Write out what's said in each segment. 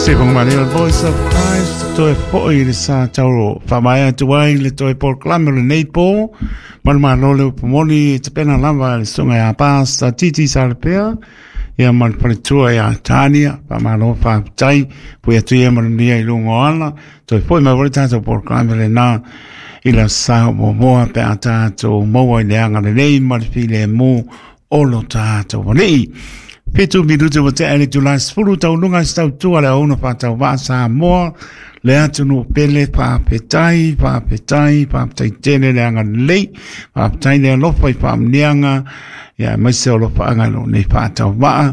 Stephen Manuel, Voice of Christ, toe foi i le sa tauro whamaea atu ai le toe polokalame o lenei pō, malu malo le upu moni e tapena lava le susuga ia Pastor Titi Salepea, ia ma le faletua ia Tania, faamalo faafetai, pui atu ia manuia i luga o ala, toe foi mai foi le tatou polokalame lena i le aso Sa o muamua pe a tatou maua i le agalelei ma le filemu o lo tatou Alii. 7 minute ua tea i le itula e 10 taunuga i se tautua le auauna faatauvaa Samoa, le atunuu pele, faafetai, faafetai, faafetai tele le agalelei, faafetai le alofa i faamuniaga, ia aemaise o alofaaga i lou nei faatauvaa.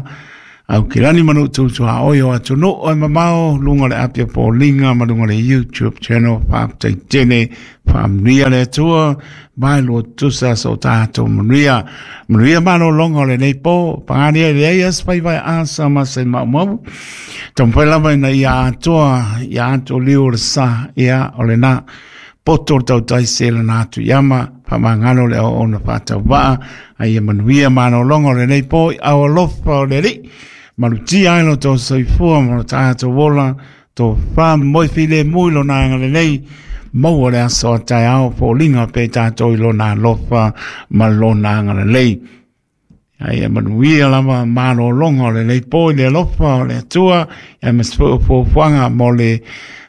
Aukilani ma nuu tutuaoi o atunuu e mamao, luga o le api o Poliga ma luga o le YouTube channel, faafetai tele, faamanuia le Atua, mai lua tusa so tatou manuia. Manuia malologa o lenei pō, pagaria i leai as faiva e asa ma se maumau. Taumafai lava ina ia atoa, ia ato liu o le sa, ia o lena. Poto le tautai se lana atu i ama, whamangalo le o ona whātauvaa, a ia manuia malologa o lenei pō i au alofa o le Alii. Malutia ai lo tō soifua ma lo tātou ola, tō wha moi filemu i lona agalelei, maua le aso a taeao foliga pe tātou i lona alofa ma lona agalelei. A ia manuia lava malologa o lenei pō i le alofa o le Atua, ia ma se foi o fuafuaga mo le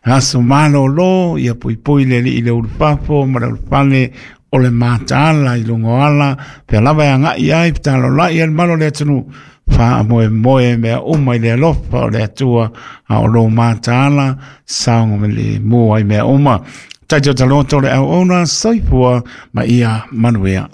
aso malolo, ia puipui le Alii i le ulufafo ma le ulufale o le mataala i luga o ala, pea lava e agai ai, fetalolai ai le malo o le atunuu, faamoemoe mea uma i le alofa o le Atua, a o lou mataala, saoga me le mua i mea uma. Taito taloto le auauna, soifua ma ia manuia.